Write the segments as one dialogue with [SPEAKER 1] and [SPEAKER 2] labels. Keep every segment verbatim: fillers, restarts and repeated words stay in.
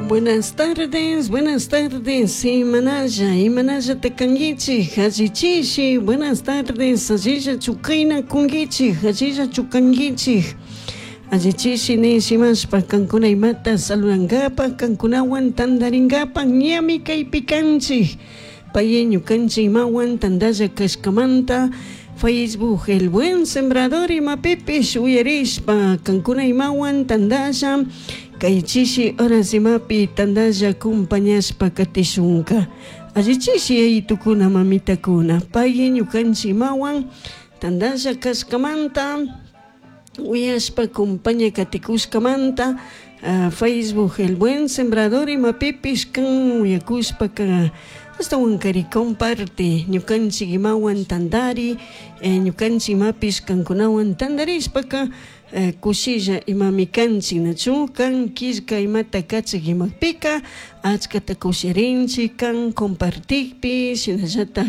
[SPEAKER 1] Buenas tardes, buenas tardes, imanalla, imanalla takangichi, hachichishi, buenas tardes, allilla chukayna kungichi, allilla chukangichi. Allichishi nishimashpa kankuna imata saludankapa, kankunawan tandaringapa, ñami kaypi kanchik. Pay ñukanchik imawan tandalla kashkamanta, Facebook El Buen Sembrador imapipish uyarishpa, kankuna imawan tandalla, kay chishi horas imapi tandalla compañashpa katishunka. Allichishi yayitukuna mamitakuna, pay ñukanchik imawan tandalla kashkamanta, uyashpa compaña katikushkamanta, uh, Facebook El Buen Sembrador imapipish kan uyakushpaka ashtawankari comparte ñukanchik imawan tandari, eh, ñukanchik imapish kankunawan tandarishpaka eh, kushilla imami kanchik nachu kan killka imata kachik imapika achkata kushirinchik kan compartikpi shinallatak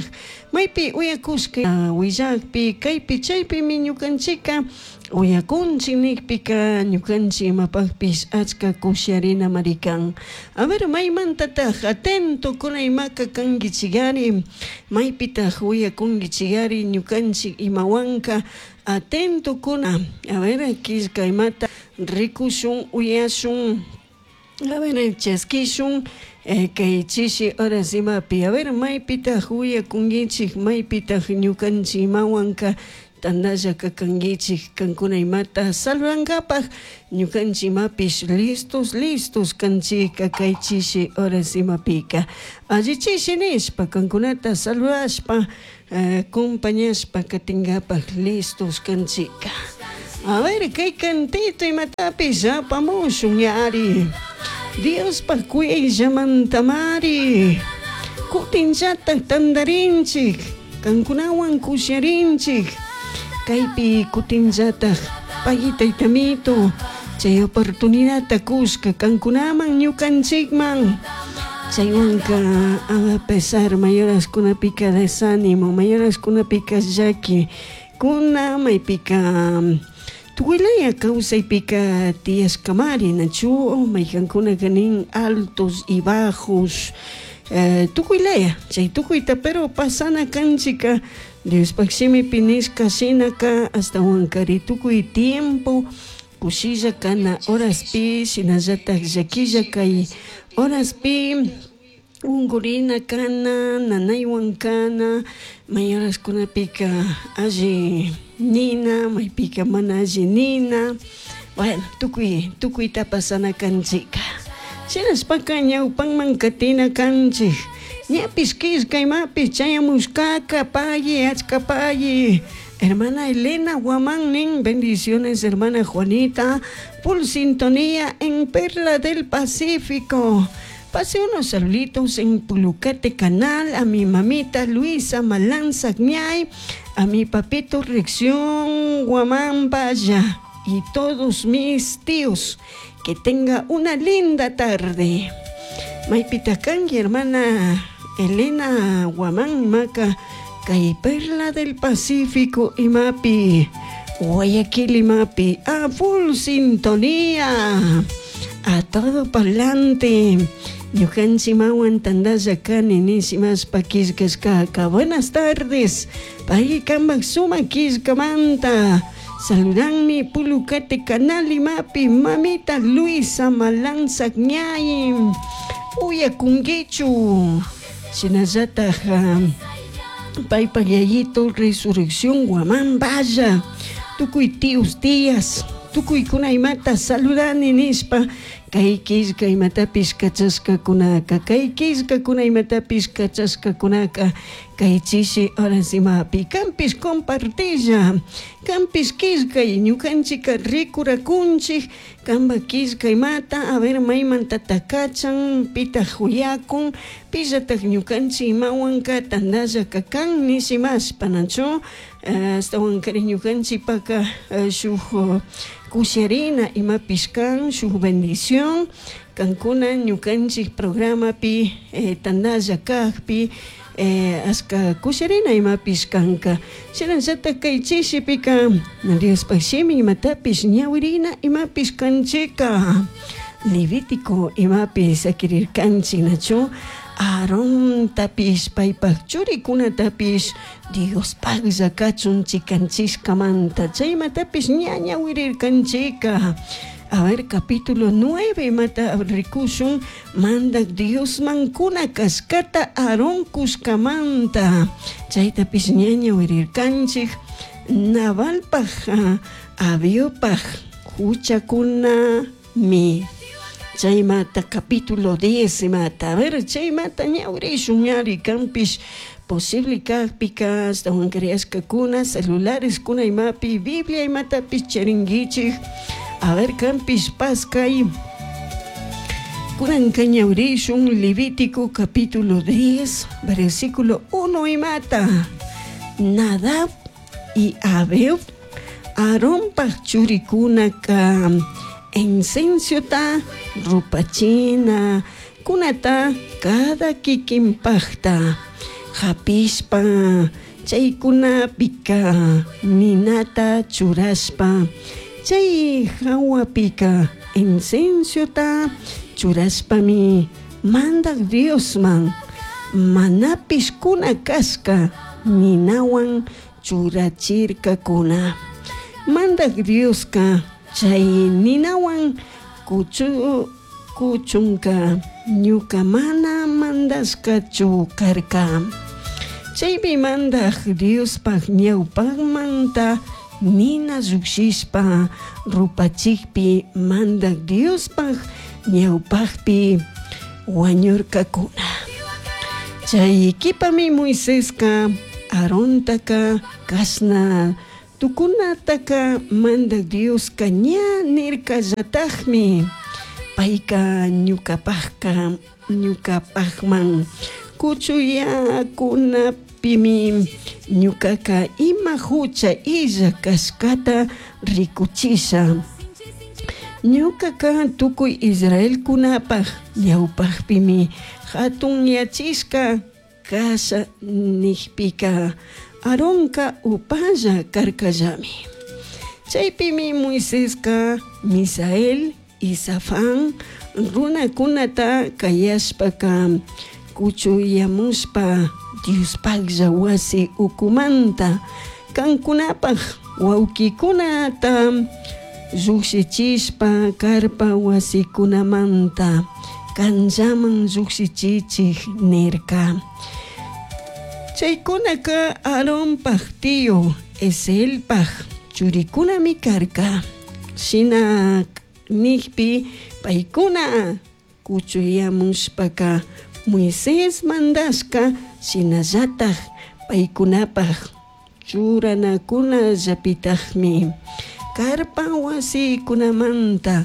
[SPEAKER 1] maypi uyakushka uh, willakpi kaypi chaypimi ñukanchika uyakunchik nikpika ñukanchik imapakpish achka kushiarinamari kan. A ver, maymantataj atento kuna imaka kankichikari, maypitaj uyakunkichikari ñukanchik imawanka atento kuna. A ver, killka imata rikushun uyashun, a ver, chaskishun eh, kay chishi horas imapi. A ver, maypitaj uyakunkichik, maypitaj ñukanchik imawanka tandalla kakankichik kankuna imata saludankapaj ñukanchik imapish listos listos kanchika kay chishi horas imapika. Allichishi nishpa kankunata saludashpa eh, compañashpa katinkapaj listos kanchika. A ver, kay cantito imatapish apamushun yari. Diospaj kuyayllamantamari kutinllatak tandarinchik kankunawan kusharinchik kaypi kutinllatak pay taytamito chay oportunidadta kushka kankunaman ñukanchikman. Chaywanka a pesar mayoraskunapika desánimo, mayoraskunapika llaki kuna maypika tukuylaya kawsaypika tiyashkamari nachu maykankunaka nin altos y bajos, eh, tukuylaya chay tukuyta pero pasana kanchika Diospaj shimipi nishka shinaka ashtawankari tukuy tiempo kushilla kana horaspi shinallatak llakilla kay horaspi unkurina kana nanaywan kana may horaskunapika alli nina maypika mana alli nina, bueno tukuy tukuyta pasana kanchika. Shinashpaka ñawpanman katina kanchik ñapish killka imapish chayamushkaka payi achka payi. Hermana Elena Guamán nin, bendiciones hermana Juanita, full sintonía en Perla del Pacífico. Pasé unos saluditos en Pulucate Canal a mi mamita Luisa Malanza Ñay, a mi papito Reacción Guamán Vaya y todos mis tíos. Que tenga una linda tarde. Maypitakanki hermana Elena Guamán Maca, kay Perla del Pacífico imapi, Guayaquil imapi, a full sintonía, a todo pa'lante. Ñukanchik mawan tandalla kani nishimashpa killkashkaka. Buenas tardes, pay kanpak sumak killkamanta. Saludanmi Pulucate Canal imapi, mamita Luisa Malanza Ñay, uyakunkichu. Shinallataj paypak yayito Resurrección Guamán Vaya, tukuy tíos tías, tukuykuna imata saludani nishpa kay killka imatapish kachashkakunaka, kay killkakuna imatapish kachashkakunaka kay chishi horas imapi kanpish compartilla, kanpish killkay ñukanchika rikurakunchik kanpak killka imata, a ver maymantata kachan, pitaj uyakun, pillatak ñukanchik imawanka tandalla kakan nishimashpa nachu ashtawankari ñukanchikpaka shuk kusharina imapish kan shuk bendición kankuna ñukanchik programapi eh, tandalla kakpi eh, ashka kusharina imapish kanka. Shinallatak kay chishipika Diospaj shimi imatapish ñawirina imapish kanchika. Levítico imapi sakirirkanchik nachu Aarontapish paypak churikunatapish Diospaklla kachun chikanchishkamanta chaymatapish ña ñawirirkanchika. A ver, capítulo nueve imata rikushun mandak Diosman kuna kashkata Aarón kushkamanta chaytapish ña ñawirirkanchik. Nabalpaj Abiopaj huchakunami chaymata capítulo diez imata. A ver, chaymata ñawirishun ñari kanpish posible kakpika ashtawan creashkakuna celulares kuna imapi Biblia imatapish charinkichik. A ver, kanpish paskay kunanka ñawirishun Levítico capítulo diez versículo uno imata. Nadab y Abiú Aaronpaj churikunaka incenciota rupachina kunata cada kikinpajta hapishpa chaykunapika ninata churashpa chay hawapika incenciota churashpami mandak Diosman manapish kuna kashka ninawan churachirkakuna. Mandak Dioska chay ninawan kuchu kuchunka ñuka mana mandashkachu karka. Chaypi mandak Diospaj ñawpakmanta nina llukshishpa rupachikpi mandak Diospaj ñawpakpi wañurkakuna. Chay kipami Moiseska Aarontaka kashna tukunataka mandak Dioska ña nirkallatakmi payka ñukapajka ñukapajman kuchuyakunapimi ñukaka ima hucha illa kashkata rikuchisha. Ñukaka tukuy Israelkunapaj ñawpakpimi hatunyachishka kasha nijpika Aaronka upalla karkallami. Chaypimi Moiseska Misael y Safán runakunata kayashpaka kuchuyamushpa Diospaklla wasi ukumanta kankunapaj wawkikunata llukshichishpa karpa wasikunamanta kanllaman llukshichichik nirka. Chaykunaka Aaronpaj tío Eselpaj churikunami karka. Shina nijpi paykuna kuchuyamushpaka Moisés mandashka shinallataj paykunapaj churanakunallapitajmi karpa wasikunamanta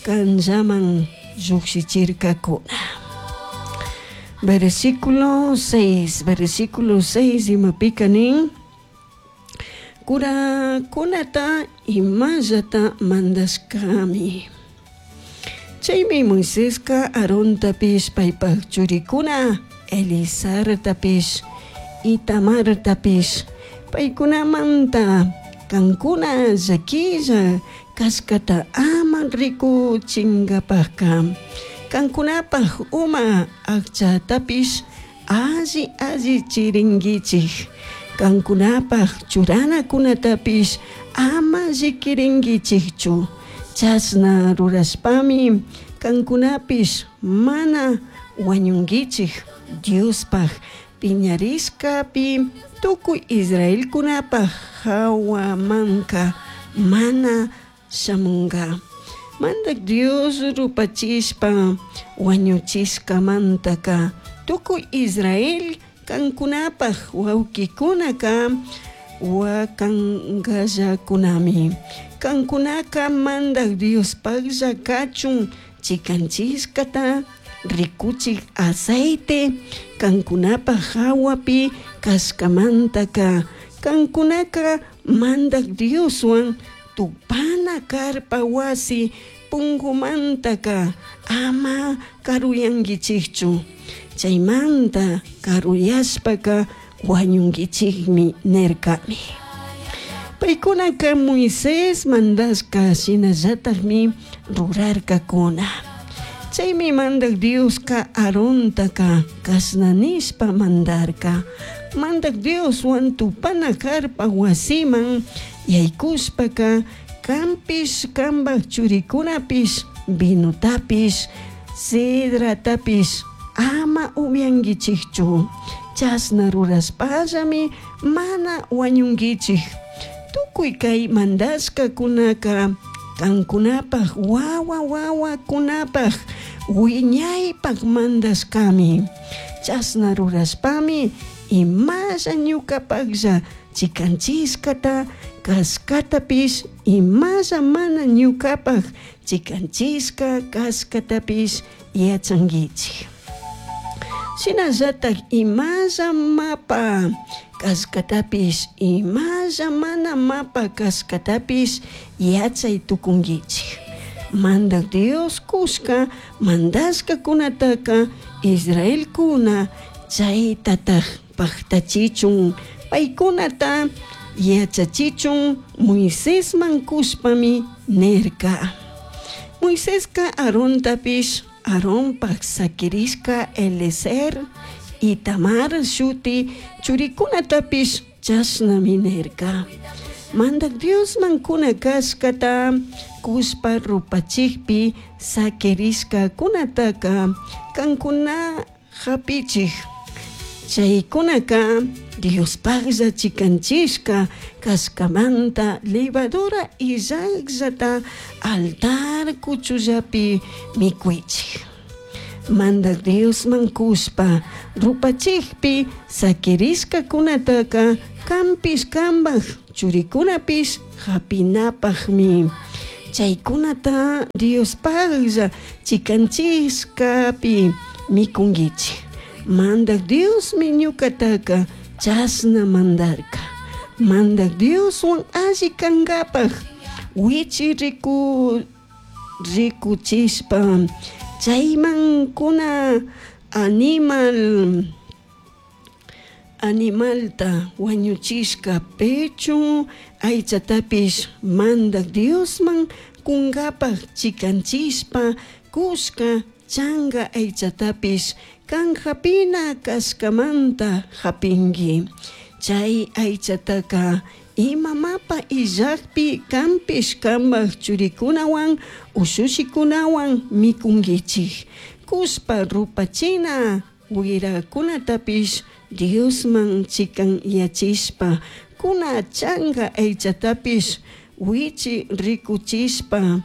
[SPEAKER 1] kanllaman llukshichirkakuna. Versículo seis, versículo seis imapika nin kurakunata imallata mandashkami. Chaymi Moiseska Aarontapish paypaj churikuna Eleazartapish Itamartapish paykunamanta kankuna llakilla kashkata ama rikuchinkapajka kankunapaj uma akchatapish alli alli chirinkichik kankunapaj churanakunatapish ama llikirinkichikchu. Chashna rurashpami kankunapish mana wañunkichik Diospaj piñarishkapi tukuy Israelkunapaj hawamanka mana shamunka. Mandak Dios rupachishpa wañuchishkamantaka tukuy Israel kankunapaj wawkikunaka wakankallakunami. Kankunaka mandak Diospaklla kachun chikanchishkata rikuchik aceite kankunapaj hawapi kashkamantaka kankunaka mandak Dioswan tupana karpa wasi pungumantaka ama karuyankichikchu. Chaymanta karuyashpaka wañunkichikmi nirkami. Paykunaka Moisés mandashka shinallatakmi rurarkakuna. Chaymi Mandaj Diosca Aarontaca cashna nishpa mandarca: Mandaj Dioshuan tupana carpa huasiman yaycushpaca canpish cambaj churicunapish vinotapish sidratapish ama ubyanguichijchu. Chashna rurashpallami mana huañunguichij. Tucui cai mandashcacunaca cancunapaj huahua huahuacunapaj huiñaipaj mandashcami. Chashna rurashpami imalla ñucapajlla chicanchishcata cashcatapish imalla mana ñucapaj chicanchishca cashcatapish yachanguichij. Shinallataj imalla mapa cashcatapish imalla mana mapa cashcatapish yachai tucunguichij. Mandaj Dios cushca mandashcacunataca Israelcuna chaitataj pajtachichun paicunata yachachichun Moisesman cushpami nirca. Moisesca Aarontapish Aaronpaj saquirishca Eleazar Itamar shuti churicunatapish chashnami nirca. Mandaj Diosman cuna cashcata cushpa rupachijpi saquirishcacunataca cancuna japichij. Chaicunaca Diospajlla chicanchishca cashcamanta levadura illajllata altar cuchullapi micuichij. Mandaj Diosman cushpa rupachijpi saquirishcacunataca canpish cambaj churicunapish japinapajmi. Chaicunata Diospajlla chicanchishcapi micunguichij. Mandaj Diosmi ñucataca chashna mandarca. Mandaj Dioshuan alli cangapaj huichi ricu ricuchishpa chaiman cuna animal animalta huañuchishca pecho aichatapish Mandaj Diosman cungapaj chicanchishpa cushca changa aichatapish can japina cashcamanta japingui. Chay aichataca ima mapa illajpi canpish cambaj churicunahuan ushushicunahuan micunguichij. Cushpa rupachina huiracunatapish Diosman chicanyachishpa cuna changa aichatapish huichi ricuchishpa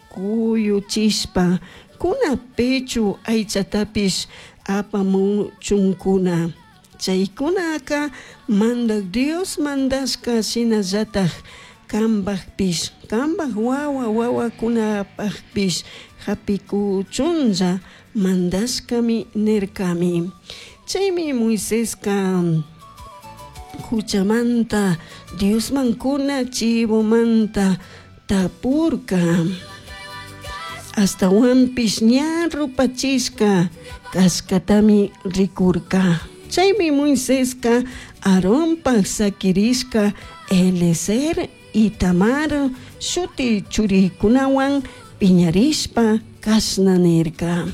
[SPEAKER 1] cuyuchishpa cuna pecho aichatapish apamuchuncuna. Chaicunaca Mandaj Dios mandashca shinallataj cambajpish cambaj huahua huahuacunapajpish japicuchunlla mandashcami nircami. Chaymi Moisesca juchamanta Diosman cuna chivomanta tapurca. Ashtahuanpish ña rupachishca cashcatami ricurca. Chaymi Moisesca Aaronpaj saquirishca Eleazar Itamar shuti churicunahuan piñarishpa cashna nirca.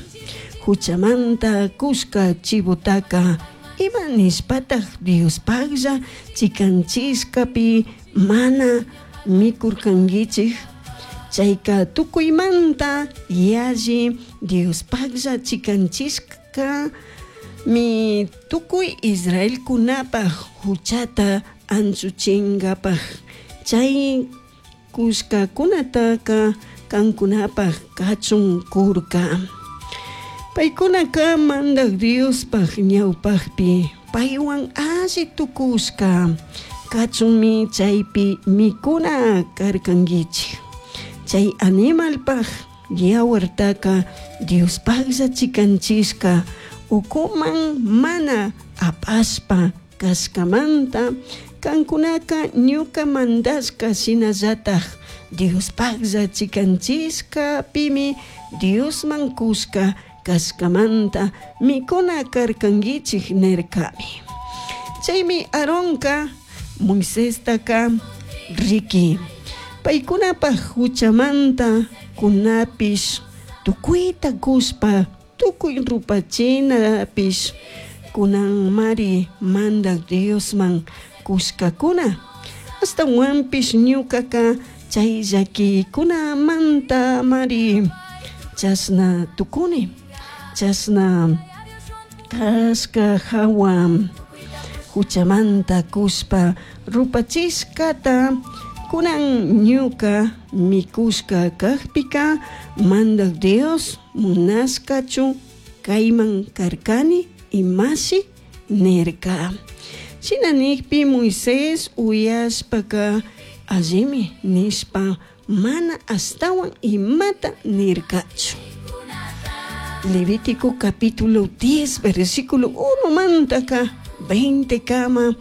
[SPEAKER 1] Juchamanta cushca chivotaca ima nishpataj Diospajlla chicanchishcapi mana micurcanguichij. Chaica tucuimanta yalli Diospajlla chicanchishca mi tucui Israelcunapaj juchata anchuchingapaj. Chay cushcacunataca cancunapaj cachun curca. Paicunaca Mandaj Diospaj ñaupajpi paihuan alli tucushca cachunmi chaipi micuna carcanguichij. Chay animalpaj yawartaca Diospajlla chicanchishca ucuman mana apashpa cashcamanta cancunaca ñuca mandashca shinallataj Diospajlla chicanchishcapimi Diosman cushca cashcamanta micuna carcanguichij nircami. Chaymi Aaronca Moisestaca riqui paicunapaj juchamanta cunapish Tucuita cushpa tucui rupachinapish cunanmari Mandaj Diosman cushcacuna. Ashtahuanpish ñucaca chay llaquicunamanta-mari chashna tucuni. Chashna cashca jahua juchamanta cushpa rupachishcata cunan ñuca micushca cajpica Mandaj Dios munashcachu caiman carcani imashi nirca. Shina nijpi Moisés uyashpaca allimi nishpa mana ashtahuan imata nircachu. Levítico capítulo diez versículo uno mantaka veinte kama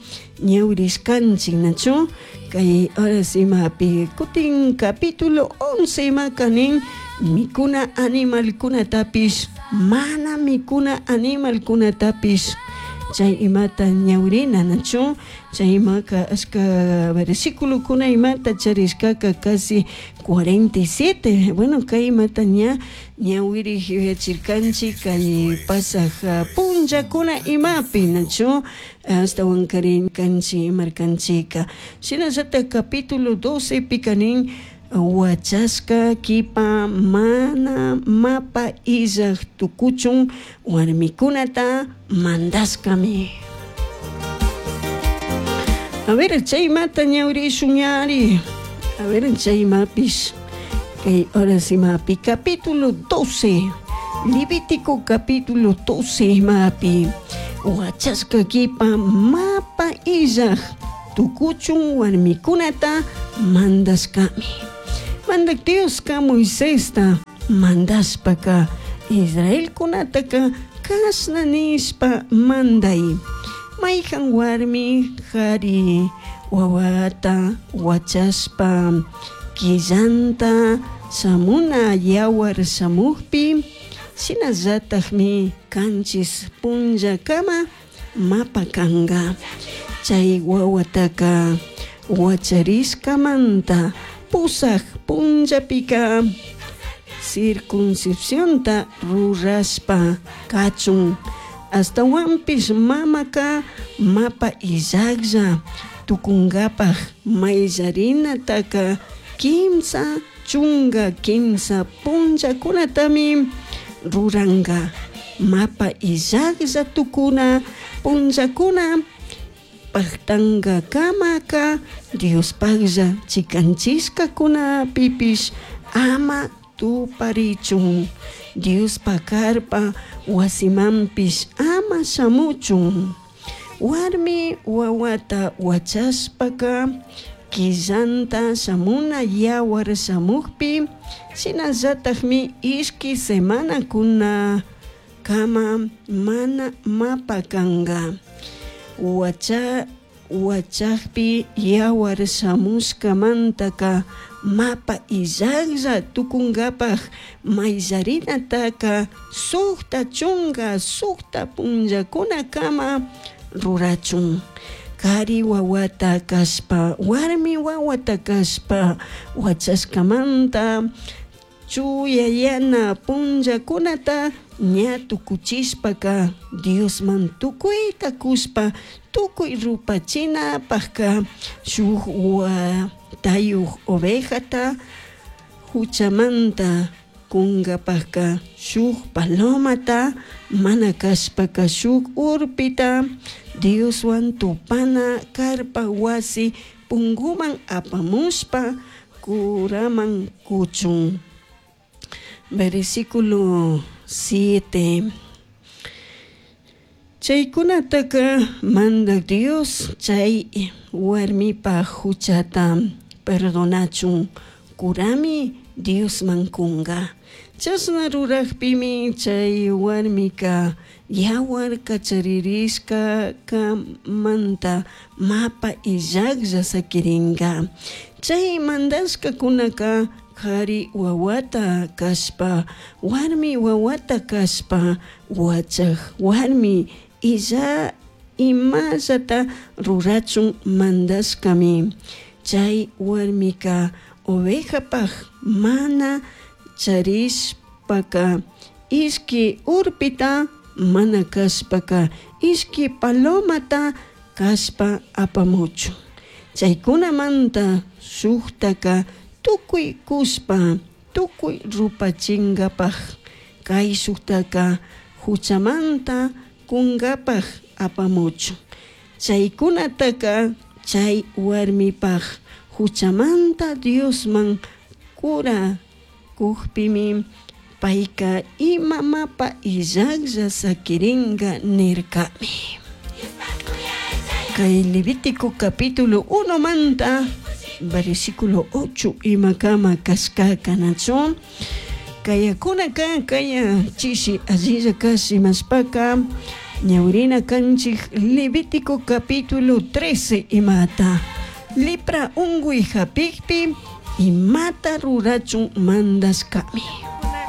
[SPEAKER 1] ñawirishkanchik nachu kay horas imapi kutin capítulo once imaka nin mikuna animalkunatapish mana mikuna animalkunatapish chay imata ñawirina nachu chay imaka ashka versículokuna imata charishkaka casi cuarenta y siete. Bueno, kay imata ña ñawiri yuyachirkanchik kay pasaj punllakuna imapi nachu ashtawan karinkanchik imarkanchika. Shinallatak capítulo doce pika nin wachashka kipa mana mapa illaj tukuchun warmikunata mandashkami. A ver, chay mata ñawrishun ñari. A ver, chay mapish. Kay horas imapi capítulo doce. Levítico capítulo doce mapi. Wachashka kipa mapa illaj tukuchun warmikunata mandashkami. Mandak Dioska Moisesta mandashpaka Israelkunataka kashna nishpa manday. Mayhan warmi jari wawata wachashpa killanta shamuna yawar shamukpi shinallatakmi kanchis punllakama mapa kanga. Chay wawataka wacharishkamanta pusaj punllapika circuncisiónta rurashpa kachun. Ashtawanpish mamaka mapa illajlla tukunkapaj mayllarinataka kimsa chunka kimsa punllakunatami ruranka. Mapa illajlla tukuna punllakuna pajtankakamaka Diospajlla chikanchishkakunapipish ama tuparichun. Diospa karpa wasimanpish ama shamuchun. Warmi wawata wachashpaka killanta shamuna yawar shamukpi shinallatakmi ishki semanakuna kama mana mapa kanka. Wacha, wachakpi yawar shamushkamantaka mapa illajlla tukunkapaj mayllarinataka sukta chunka sukta punllakunakama rurachun. Kari wawata kashpa warmi wawata kashpa wachashkamanta chuyayana punllakunata ña tukuchishpaka Diosman tukuyta kushpa tukuy rupachinapajka shuk watayuj ovejata juchamanta kunkapajka shuk palomata mana kashpaka shuk urpita Dioswan tupana karpa wasi punguman apamushpa kuraman kuchun. Versículo siete. Chaykunataka Mandaj Dios chay warmipa huchata perdonachun kurami Diosman kunga. Chashna rurajpimi chay warmika yawar kacharirishka kamanta mapa illajlla sakiringa. Chay mandashkakunaka kari wawata kashpa warmi wawata kashpa wachaj warmi illa imallata rurachun mandashkami. Chay warmika ovejapaj mana charish Cungapajca ishqui urpita mana cashpaca ishqui palomata cashpa apamuchun. Chaicunamanta shujtaca tucui cushpa tucui rupachingapaj caishujtaca juchamanta cungapaj apamuchun. Chaicunataca chai huarmipaj juchamanta Diosman cura cujpimi paica ima mapa illajlla saquiringa nircami. Kay Levítico capítulo uno manta versículo ocho imakama kashkaka nachu kayakunaka kaya chishi allilla kashi mashpaka ñawirina kanchik Levítico capítulo trece imata lepra unguy hapikpi imata rurachun mandashkami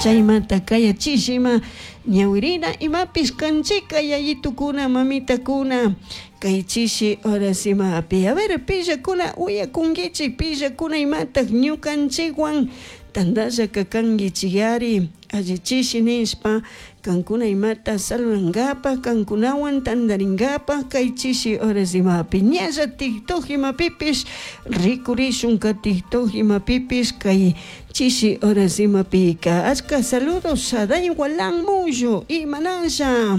[SPEAKER 1] chaymanta kaya chishima ñawirina imapish kanchika yayitukuna mamitakuna kay chishi horas imapi a ver pillakuna uyakunkichik pillakuna imatak ñukanchikwan tantalla kakankichik alli chishi nishpa kankuna imata saludankapak kankunawan tantarinkapak kay chishi horas imapi ñalla TikTok imapipish rikurishunka TikTok imapipish kay chishi horas imapika achka saludos Saday Walan Mullo imanasha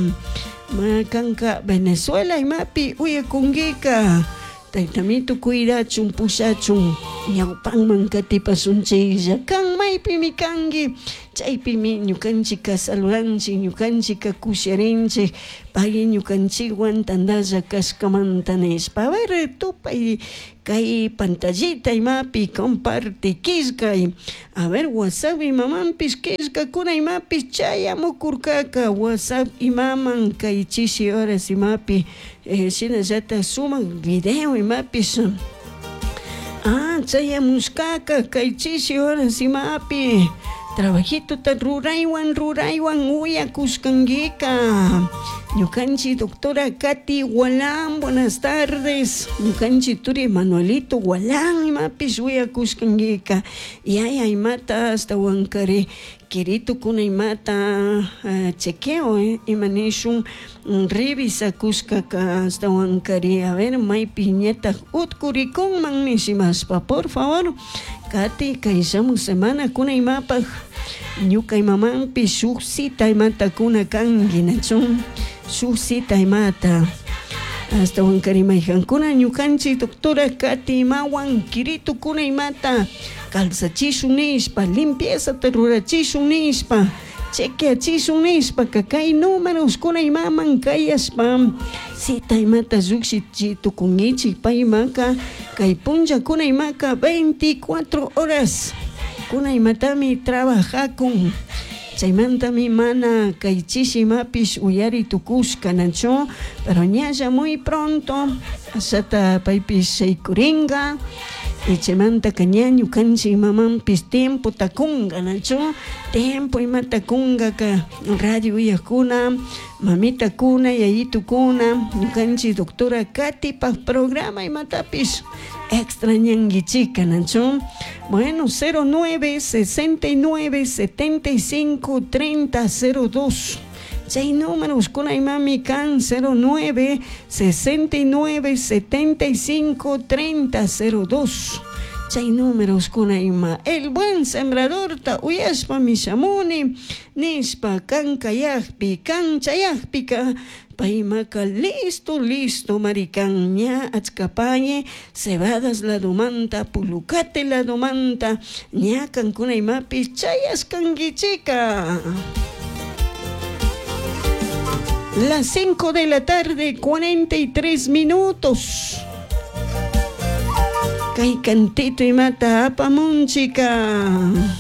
[SPEAKER 1] kanka Venezuela imapi uyakunkika taytamito cuidachun pushachun ñawpanman katipasunchiklla kan maypimi kanki chaypimi ñukanchika saludanchik ñukanchika kusharinchik pay ñukanchikwan tantalla kashkamanta nishpa a ver tupay kay pantallita imapi comparte killkay a ver WhatsApp imamanpish killkakuna imapish chayamukurkaka WhatsApp imaman kay chishi horas imapi eh, shinallatak sumak video imapish ah chayamushkaka kay chishi horas imapi trabajituta ruraywan ruraywan uyakushkankika ñukanchik doctora Katy Walán buenas tardes ñukanchik turi Manuelito Walán imapish uyakushkankika yaya imata ashtawankari kiritukuna imata uh, chequeo eh, ima nishun revisakushkaka ashtawankari a ver maypi ñatak utkurikunman nishimashpa por favor Katy kay shamuj semana kuna imapaj ñuka imamanpish shuk cita imata kuna kanki nachu shuk cita imata ashtawankari mayjankuna ñukanchik doctora Katy imawan kiritukuna imata calzachishun nishpa limpiezata rurachishun nishpa chequeachishun nishpa kay números kuna imaman kayashpa cita imata llukshichi tukunkichik paymaka kay punllakuna imaka veinticuatro horas kuna imatami trabajakun chaymantami mana kay chishi imapish uyari tukushka nachu pero ñalla muy pronto ashata paypish shaykurinka y chaymantaka ña ñukanchik mamanpish tiempo takunka nachu tiempo imata kunkaka radio uyakuna mamitakuna yayitukuna ñukanchik doctora Katypak programa imatapish extrañankichika nachu bueno cero nueve sesenta y nueve setenta y cinco treinta cero dos chay números kuna imami kan cero nueve sesenta y nueve setenta y cinco treinta cero dos chay números kuna ima el buen sembrador ta uyashpa mishamuni nishpa kan kayakpi kan chayakpika paymaka listo listo marikan ña achkapaye cebadas ladomanta pulucate ladomanta ña kankuna imapish chayashkankichika. Las cinco de la tarde, cuarenta y tres minutos. Kay cantito imata apamunchika.